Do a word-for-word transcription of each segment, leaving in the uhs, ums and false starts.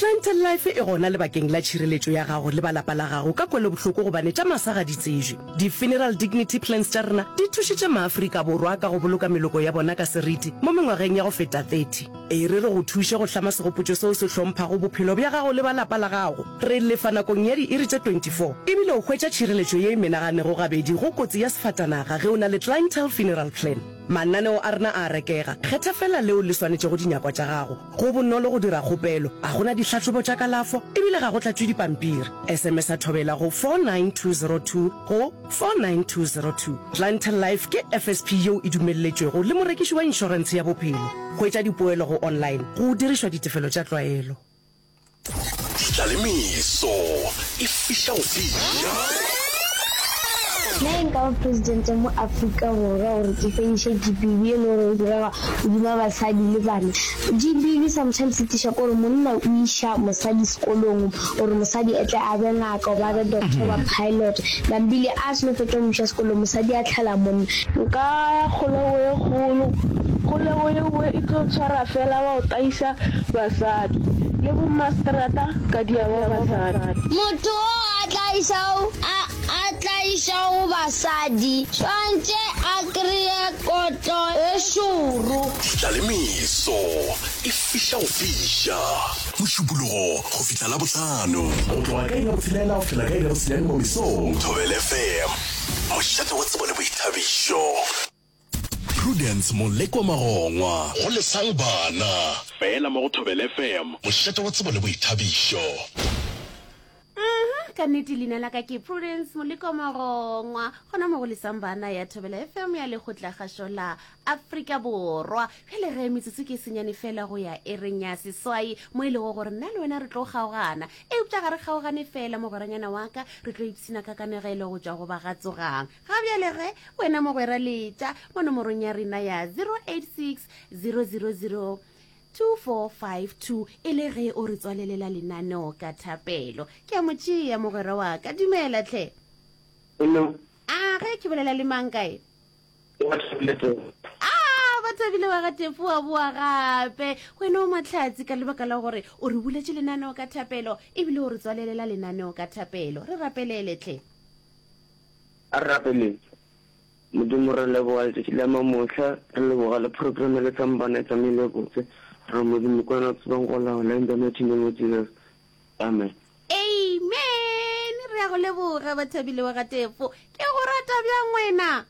Clientele Life e gona lebakeng la tšhireletšo ya gago le ba lapa la gago ka kwelobohloko gobane tša masa ga di tsejwe. Di-funeral dignity plans tša rena di thušitše maAfrika Borwa ka go boloka meloko ya bona ka seriti mo mengwageng ya go feta thirty. E re re go thuše go hlama segopotšo seo se hlomphago bophelo bja gago le ba lapa la gago. Re lefa nakong ya diiri tše twenty four ebile o hwetša tšhireletšo ye e menaganego gabedi go kotsi ya sefatanaga ge o na le Clientele Funeral Plan. Mananeo a rena a a rekega, kgetha feela leo le swanetšego dinyakwa tša gago. Go bonolo go dira kgopelo, ga go na dihlahlobo tša kalafo ebile ga go tlatšwe dipampiri. S M S-a Thobela go four nine two zero two go four nine two zero two. Clientele Life ke F S P yeo e dumelletšwego le morekiši wa inšorentshe ya bophelo. Hwetša dipoelo go online go dirišwa ditefelo tša tlwaelo. Ditlalemeso e fiša go fiša. Nna e nka ba presidente mo Afrika Borwa gore ke fediše G B V e le gore e direga godima basadi le bana. G B V sometimes e tliša kore monna o iša mosadi sekolong gore mosadi e tle a be ngaka goba a be doctor goba pilot. Nambile a seno fetša go mo iša sekolong, mosadi a tlhala monna. Nka ya kgolego ye kgolo. Kgolego yeo e tlo tshwara fela ba go taisa basadi le bommaseterata ka diaba basadi. Motho o a tlaišago a a tlaišago basadi swantše a kreye kotlo e šoro. Ditlalemeso e fiša go fiša. Mošupologo go fihla Labohlano. Go tloga ka iri ya botshelela go fihlela ka iri ya bosenyane mo mesong. Thobela F M, mošate wa tsebo le boithabišo. Prudence Molekwa Magongwa. Go Lesang Bana. Fela mo go Thobela F M, mošate wa tsebo le boithabišo. Aha, ka nnete leina la ka ke Prudence Moleko Magongwa, gona mo go Lesang Bana ya Thobela F M ya Lekgotlakgašo la Afrika Borwa. Bjale ge metsotso ke senyane fela go ya ereng ya seswai, mo e lego gore nna le wena re tlo kgaogana, eupša ga re kgaogane fela, mogweranyana wa ka, re tlo ipshina ka kanegelo go tšwa go ba ga Tsogang. Ga bjale ge wena mogwera letša mo nomorong ya rena ya zero eight six zero zero zero two four five two e le ge o re tswalelela lenaneo ka thapelo. Ke a mo tšea mogwera wa ka. Dumela tlhe. Hello. A ge ke bolela le mang kae? Ke Bathabile Tefo. A Bathabile wa ga Tefo, wa boa gape wena o mahlatsi ka lebaka la gore o re buletše lenaneo ka thapelo ebile o re tswalelela lenaneo ka thapelo. Re rapelele tlhe. A re rapeleng. Modimo, re leboga letšatši la mamohla, re leboga le program ya Lesang Bana e tsamaile botse. Re Modimo ke wena o tsebang go laola, in the mighty name of Jesus. Amen. Amen. Re ya go leboga, Bathabile wa ga Tefo. Ke go rata bjang wena.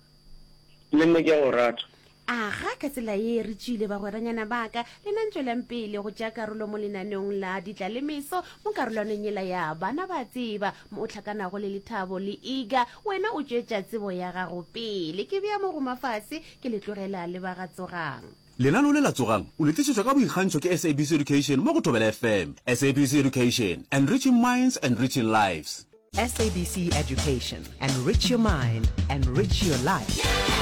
Le nna ke a go rata. Aga, ka tsela ye re tšwile, bagweranyana baka. Lena ntšwelang pele go tšea karolo mo lenaneong la Ditlalemeso mo karolwaneng yela ya Bana Ba Tseba, mo o hlakanago le Lethabo le Iga. Wena o tšwetša tsebo ya gago pele. Ke bea mo go mafase, ke le tlogela le ba ga Tsogang. Lenaneo le la Tsogang o le tlišetšwa ka boikgantšho ke S A B C Education mo go Thobela F M. S A B C Education, enriching minds, enriching lives. S A B C Education, enrich your mind, enrich your life.